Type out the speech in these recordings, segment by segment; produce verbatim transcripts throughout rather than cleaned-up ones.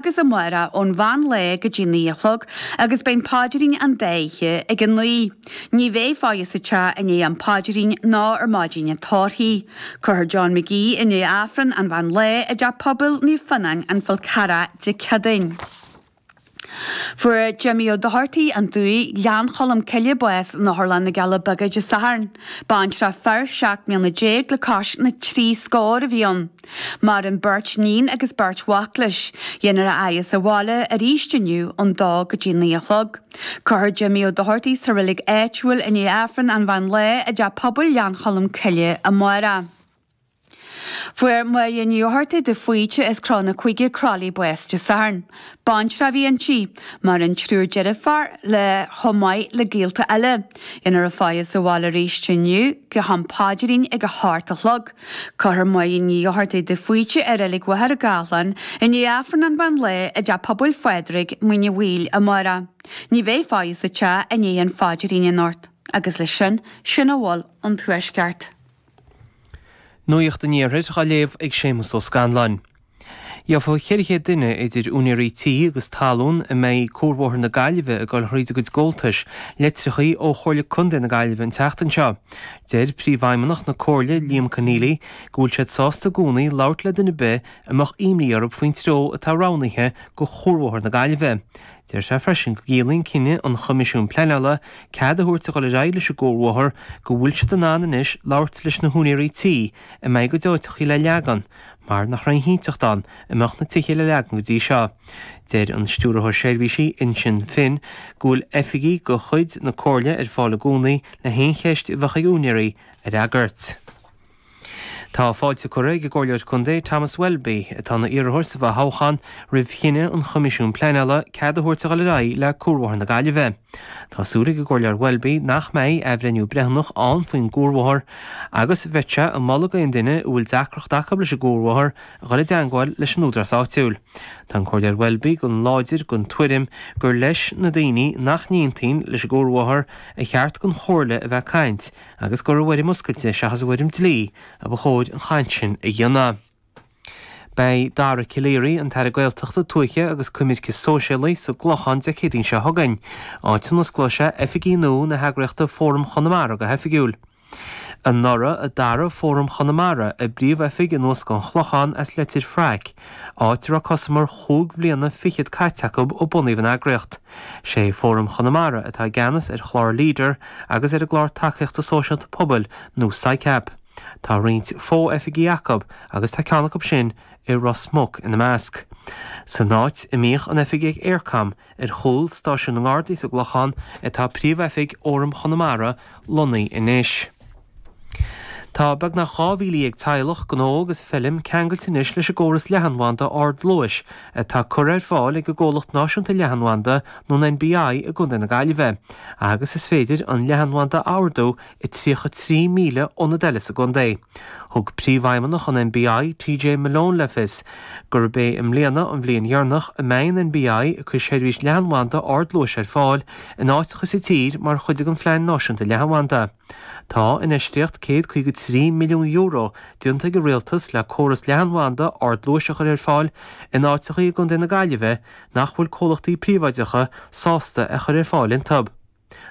agus amárach ón mheán lae go dtí naoi a chlog agus beidh an paidrín an dá oíche ag a naoi. Ní bheidh faire sa teach i ndiaidh an phaidrín ná ar maidin an tórraimh. Cuirfear John McGee i ndiaidh Aifreann an mheán lae i dTeach Pobail Naomh Fionán, An Fál Carrach, Dé Céadaoin. Fuair Jimmy Ó Dochartaigh, An Dumhaigh, Gleann Cholm Cille bás in Otharlann na gCealla Beaga Dé Sathairn. Baintreach fir seacht mbliana déag le cois na trí scór a bhí ann. Maireann beirt níon agus beirt mhac leis. Dhéanfar a fhaire sa bhaile arís inniu ón dó go dtí naoi a chlog. Cuirfear Jimmy Ó Dochartaigh sa reilig áitiúil i ndiaidh Aifreann an mheán lae i dTeach Pobail Ghleann Cholm Cille amárach. Fuair Máire Ní Fhátharta de Faoite as Cró na Cúige Croithlí bás Dé Sathairn. Baintreach a bhí inti, maireann triúr deirfiúr léi chomh maith le gaolta eile. Dhéanfar a faire sa bhaile arís inniu go ham paidrín ag a hocht a chlog. Cuirfear Máire Ní Fhátharta de Faoite i Reilig Mhachaire Gathlán i ndiaidh Aifreann an mheán lae i dTeach Pobail Phádraig, Muine Mhaoil amárach. Ní bheidh faire sa teach i ndiaidh an phaidrín anocht. Agus leis sin, sin a bhfuil ón Tuaisceart. Nuacht an Iarthair á léamh ag Séamus Ó Scanláin. Gheobhaidh ceithre chéad duine idir úinéirí tí agus talún a mbeidh Cuarbhóthar na Gaillimhe ag dul thríd a gcuid gabháltais, litreacha ó Chomhairle Contae na Gaillimhe an tseachtain seo. Deir Príomhfheidhmeannach na Comhairle, Liam Conneally, go bhfuil siad sásta i gcónaí labhairt le duine ar bith a mbeadh imní orthu faoin treo atá roghnaithe do Chuarbhóthar na Gaillimhe. Deir sé freisin go gciallaíonn cinneadh an Choimisiúin Pleanála cead a thabhairt a dhul ar aghaidh leis an gcuarbhóthar go bhfuil siad in ann anois labhairt leis na húinéirí tí a mbeidh a gcuid áiteachaí le leagan mar nach raibh aon chinnteacht ann a mbeadh na tithe le leagan go dtí seo. Deir an Stiúrthóir Seirbhísí Uinseann Finn go bhfuil oifigigh de chuid na Comhairle ar fáil i gcónaí le haon cheist a bheadh ag úinéirí a fhreagairt. Tá fáilte curtha ag an gComhairleoir Contae Thomas Welby, atá ina iarrthóir sa bhfothoghchán, roimh chinneadh an Choimisiúin Pleanála cead a thabhairt a dhul ar aghaidh le Cuarbhóthar na Gaillimhe. Tá súil ag an gComhairleoir Welby nach mbeidh athbhreithniú breithiúnach ann faoin gcuarbhóthar agus bheadh sé ag moladh d'aon duine a bhfuil deacracht acu leis an gcuarbhóthar a dhul i dteangmháil leis an údarás áitiúil. Tá an Comhairleoir Welby go láidir den tuairim gur leis na daoine nach n-aontaíonn leis an gcuarbhóthar a cheart don Chomhairle a bheith ag caint agus gur i bhfoirm oscailte seachas i bhfoirm dlí a ba chóir an chaint sin a dhéanamh. Beidh Dara Calleary, an tAire Gaeltachta, Tuaithe agus Coimirce Sóisialaí, sa gClochán Dé Céadaoin seo chugainn, áit a n-osclóidh sé oifigí nua na heagraíochta Fóram Chonamara go hoifigiúil. Anuraidh a d'athraigh Fóram Chonamara a bpríomhoifig anuas go an Chlochán as Leitir Fraic, áit a raibh cosamar chúig bhliana fichead caite acu ó bunaíodh an eagraíocht. Sé Fóram Chonamara atá i gceannas ar chlár Leader agus ar an gclár tacaíochta sóisialta pobail nó SICAP. Tá roinnt fo-oifigí acu agus tá ceann acu sin i Ros Muc ina measc. San áit a mbíodh an oifig ag Eircom, ar chúl Stáisiún na nGardaí sa gClochán, atá príomhoifig Fhóram Chonamara lonnaithe anois. Tá beagnach dhá mhíle dhéag teaghlach, gnó agus feilm ceangailte anois leis an gcóras leathanbhanda ardluais atá curtha ar fáil ag an gcomhlacht náisiúnta leathanbhanda nó an NBI i gContae na Gaillimhe agus is féidir an leathanbhanda a ordú i tríocha trí míle ionad eile sa gcontae. Thug Príomhfheidhmeannach an NBI, TJ Malone le fios gurb é i mbliana an bhliain dheireanach a mbeidh an NBI ag cur seirbhís leathanbhanda ardluais ar fáil in áiteacha sa tír mar chuid den Phlean Náisiúnta Leathanbhanda. Tá infheistíocht céad caoga trí milliún euro déanta ag an Rialtas le córas leathanbhanda ardluais a chur ar fáil in áiteacha i gContae na Gaillimhe nach bhfuil comhlachtaí príobháideacha sásta a chur ar fáil iontu.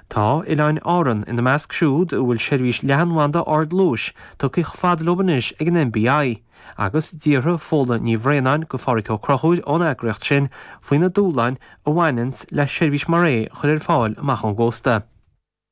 Tá Oileáin Árann ina measc siúd a bhfuil seirbhís leathanbhanda ardluais tugtha chomh fada leo anois ag an NBI, agus d'fhiafraigh Fódhla Ní Bhraonáin de Phádhraic Ó Conchúir ón eagraíocht sin faoi na dúshláin a bhaineanns le seirbhís mar é a chur ar fáil amach ón gcósta.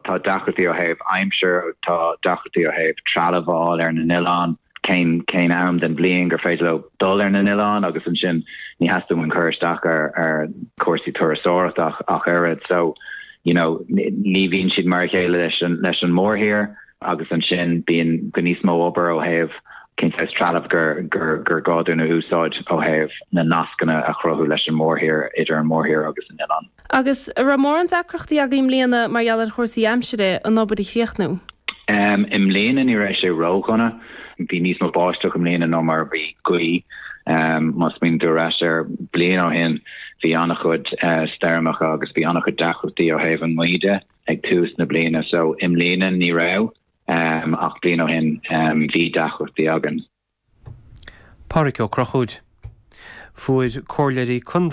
Tá deacrachtaí ó thaobh aimsir, tá deacrachtaí ó thaobh trealamh a fháil ar na n-oileáin, cén cén am den bhliain gur féidir leo dul ar na n-oileáin agus ansin ní theastaíonn uainn cur isteach ar ar chúrsaí turasóireachta ach ach oiread. So, you know, ní bhíonn siad mar a chéile leis an leis an mórthír agus ansin bíonn go níos mó obair ó thaobh cén saghas trealamh gur gur gur gá dúinn a úsáid ó thaobh na nascanna a chruthú leis an mórthír idir an mórthír agus an oileán. Agus an raibh mórán deacrachtaí agaibh i mbliana mar gheall ar chúrsaí aimsire an obair a chríochnú? I mbliana ní raibh sé ródhona. Bhí níos mó báisteach i mbliana ná mar a bhí gaoth. Má smaoiníonn tú ar ais ar bliain ó shin bhí an-chuid stoirmeacha agus bhí an-chuid deacrachtaí ó thaobh an ngaoth de ag tús na bliana. So i mbliana ní raibh ach bliain ó shin bhí deacrachtaí againn. Pádraic Ó Conchúir. Fuair comhairleoirí contae